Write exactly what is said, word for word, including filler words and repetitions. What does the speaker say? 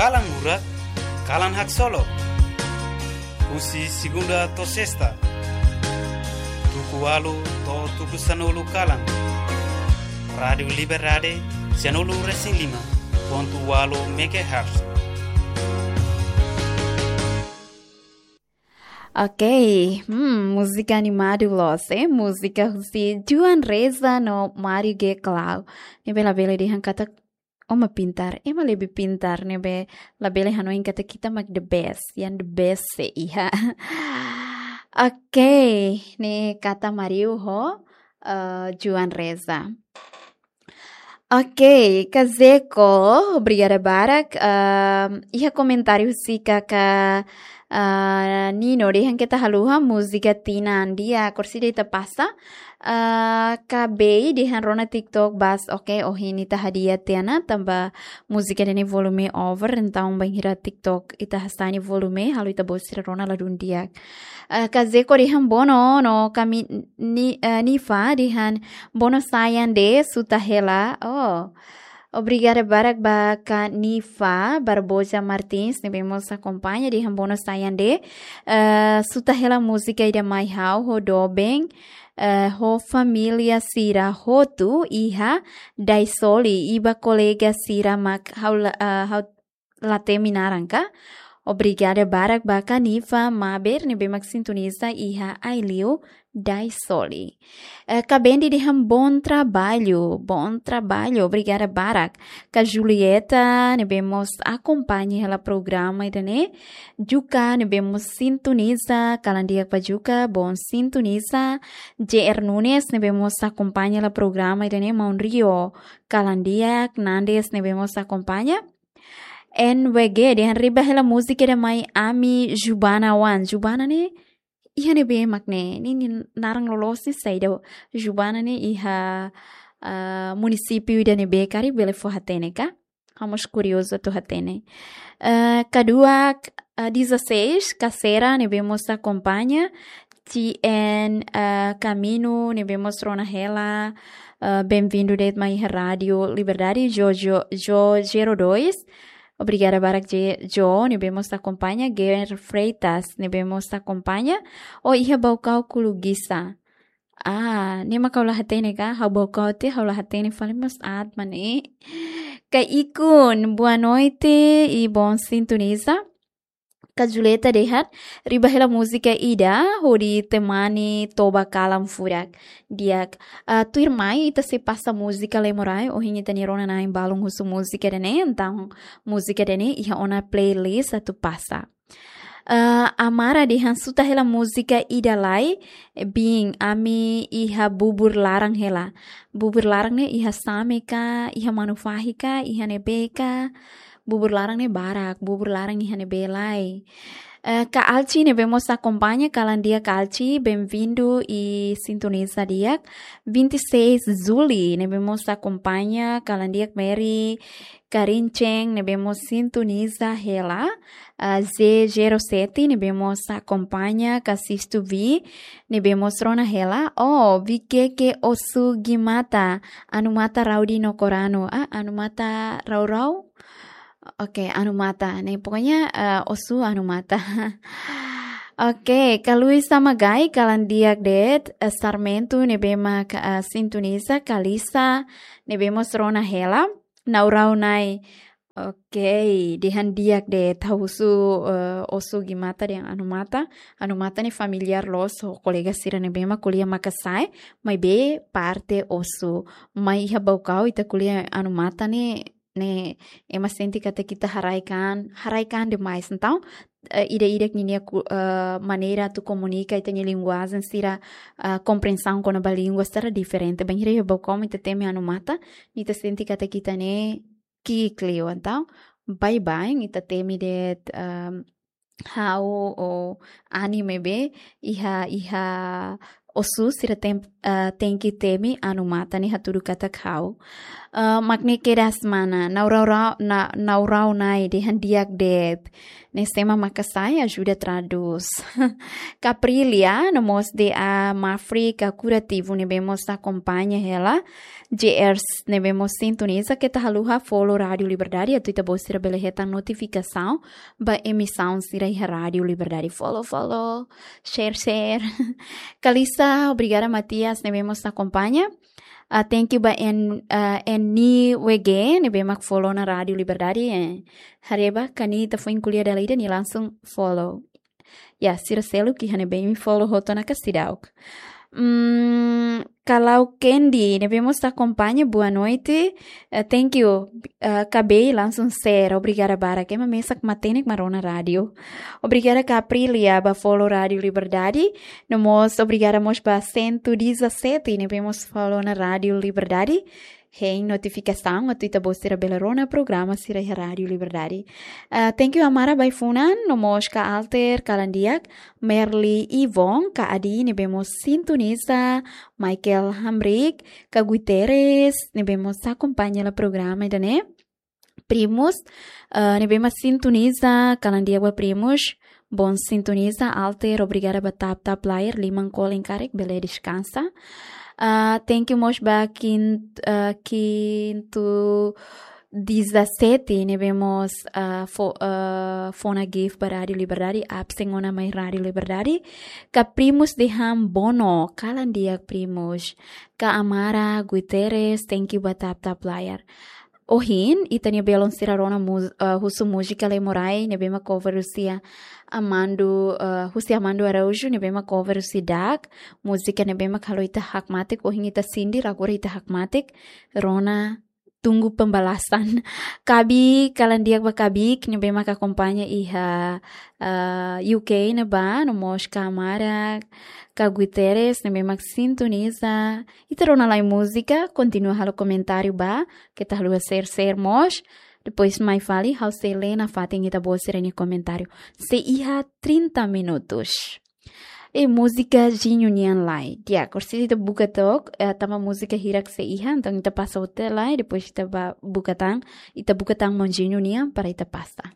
Kalan Hurak, Kalan Haksolok. Husi segunda to'o sesta, tuku ualu to'o tuku sanulu kalan. Rádiu Liberdade, sanulu resin lima pontu ualu megahertz. Oke, hmm, múzika animadu loos, eh? Múzika husi Joan Reza no Mário G Clau. Ne'ebé labele dehan katak ema pintar, ema lebih pintar, ne'ebé labele hanoin katak ita mak the best, yang the best sei iha. Oke, ne'e kata Mário ho, eh, Joan Reza. Oke, Kak Zeko, obrigada barak. Ehm, iha komentáriu husi Kaka, eh, Nino, dehan keta haluha múzika tinan dia, korsida ita pasa. Eh, Kak Bei, dehan rona TikTok bas, oke, ohin ita hadi'a tiha ona, tanba múzika ida-ne'e volume over, entaun bainhira TikTok ita hasai nia volume, halo ita-boot sira rona ladún di'ak. Eh, Kak Zeko dehan bono, no kami ni, eh, Nifa dehan bono sa'e an de'it, suta hela. Oh. Obrigada barak ba Kak Nifa Barbosa Martins, ne'ebé mós akompaña dehan bono sa'e an de'it. Eh, suta hela múzika ida mai ha'u ho doben, eh, ho família sira hotu iha Daisoli, i ba kolega sira mak ha'u la, eh, ha'u la temi naran ka. Obrigada barak ba Kak Nifa Maber, ne'ebé mak sintoniza iha Aileu, Daisoli. Eh, Kak Bendi dehan bom trabalho, bom trabalho, obrigada barak. Kak Julieta, ne'ebé mós akompaña hela programa ida-ne'e. Juka, ne'ebé mós sintoniza, kalan di'ak ba Juka, bom sintoniza. J R Nunes, ne'ebé mós akompaña hela programa ida-ne'e, Maun Rio, kalan di'ak. Nandes, ne'ebé mós akompaña. N W G, dehan riba hela múzika ida mai ami Jubana oan. Jubana ne'e iha ne'ebé mak ne'e? Nia, nia naran loloos ne'e saida? Jubana ne'e iha, ah, munisípiu ida ne'ebé karik, bele fó hatene ka? Ha'u mós kuriozu atu hatene. Eh, Kak Dua, eh, dezasseis, Kak Sera, ne'ebé mós akompaña. T N, eh, Camino, ne'ebé mós rona hela, eh, bem-vindo de'it mai iha Rádiu Liberdade, Jo, Jo, Jo zero dois. Obrigada barak, Je, Jo, ne'ebé mós akompaña. Ger Freitas, ne'ebé mós akompaña. Oh, iha Baucau Kuluguiça. Ah, ne'e mak ha'u la hatene ka, ha'u Baucau tiha, ha'u la hatene fali mós aat mak ne'e. Kak Ikun, boa noite e bom sintoniza. Kak Julieta dehan, riba hela múzika ida, hodi temani toba kalan furak. Di'ak, ah, tuirmai ita sei pasa múzika Lemorai, ohin ita-nia rona na'in balun husu múzika ida-ne'e, entaun múzika ida-ne'e iha ona playlist atu pasa. Eh, Amara dehan suta hela múzika ida lai, bin ami iha bubur laran hela. Bubur laran ne'e iha Same ka, iha Manufahi ka, iha ne'ebé ka. Bubur laran ne'e barak, bubur laran iha ne'ebé lai. Eh, Kak Alci ne'ebé mós akompaña, kalan di'ak Kak Alci, bem-vindo e sintoniza di'ak. Vinte e seis Zuli ne'ebé mós akompaña, kalan di'ak Mary Karinceng, ne'ebé mós sintoniza hela. Ah, Z zero sete, ne'ebé mós akompaña, Kak Sistu Vi, ne'ebé mós rona hela. Oh, Vikeke Osu Gimata, Anu Mata Rau di Nokoranu. Ah, Anu Mata Rau Rau? Oke, Anu Mata. Ne'e, pokoknya, eh, Osu Anu Mata. Oke, Kak Luis Samagai, kalan di'ak de'it, eh, Sarmento, ne'ebé mak, eh, sintoniza, Kalisa, ne'ebé mós rona hela. Naurau Nai. Oke, dehan di'ak de'it, ha'u husu, eh, Osu Gimata dehan Anu Mata. Anu Mata ne'e familiár loos ho kolega sira ne'ebé mak ko'alia Makasae, maibé parte Osu. Mai iha Baucau ita ko'alia Anu Mata ne'e, ne'e ema sente katak ita haraik an, haraik an demais. Entaun, eh, ida-idak ninia ku-, eh, maneira atu komunika, ita-nia linguajen sira, eh, komprensaun kona-ba língua sira diferente. Bainhira iha Baucau mak ita temi Anu Mata, ita sente katak ita ne'e ki'ik liu. Entaun, baibain ita temi de'it, ehm, ha'u ou Ani maibé iha, iha Osu sira tem, ah, tenke temi anu matan ne'e hatudu katak ha'u. Ah, mak ne'e kedas mana, naurau rau, na, naurau nai dehan di'ak de'it. Ne'e sé mak maka sai ajuda tradús. Caprilia, no mós D A Mafri ka Kurativu ne'ebé mós akompaña hela. J R ne'ebé mós sintoniza, keta haluha follow Rádio Liberdade, atu ita-boot sira bele hetan notifikasaun ba emisaun sira iha Rádio Liberdade. Follow, follow, share, share. Kalisa, obrigada Matias ne'ebé mós akompaña. Ah, thank you ba N, ah, N W G ne'ebé mak follow ona Rádio Liberdade, eh. Haree ba, karik ita foin ko'alia dala ida nia langsung follow. Ya, sira seluk iha ne'ebé imi follow hotu ona ka seidauk. Hmm, Kalau Candy ne'ebé mós akompaña, boa noite. Eh, thank you. Eh, K B langsung share. Obrigada barak. Ema mesak matenek mak rona rádio. Obrigada Caprilia ba follow Rádio Liberdade. No mós obrigada mós ba cento e dezassete ne'ebé mós follow ona Rádio Liberdade. Hein notifikasaun atu ita-boot sira bele rona programa sira iha Rádio Liberdade. Ah, thank you Amara ba ai-funan, no mós ka Alter, kalan di'ak, Merly Ivon, ka Adi ne'ebé mós sintoniza, Michael Hamrick, ka Guterres ne'ebé mós akompaña hela programa ida-ne'e. Primus, ah, ne'ebé mak sintoniza, kalan di'ak ba Primus, bom sintoniza, Alter, obrigada ba tap tap layar, liman kolen karik, bele deskansa. Ah, thank you mós ba kin-, ah, Kintu dezassete ne'ebé mós, ah, fo-, ah, fó ona gift ba Rádio Liberdade, absen ona mai Rádio Liberdade. Ka Primus dehan bono, kalan di'ak Primus. Ka Amara Guterres, thank you ba tap tap layar. Ohin, ita-nia belun sira rona mu-, ah, husu múzika Lemorai, ne'ebé mak cover husi Amando, ah, husi Amando Araújo, ne'ebé mak cover husi Dak. Múzika ne'ebé mak halo ita hakmatek, ohin ita sindir, agora ita hakmatek. Rona, tunggu pembalasan. Kabi, kalan di'ak ba Kabik, ne'ebé mak akompaña iha, ah, U K ne'ebá, no mós ka Amara, ka Guterres, ne'ebé mak sintoniza. Ita rona lai múzika, kontinua halo komentáriu ba, keta haluha share, share mós. Depois mai fali, ha'u sei lee nafatin ita-boot sira-nia komentáriu. Sei iha trinta minutos. E múzika Jinho nian lai. Di'ak, orsida ita buka took, eh, tanba múzika hirak sei iha, entaun ita pasa hotu lai, depois ita ba buka tan, ita buka tan maun Jinho nian para ita pasa.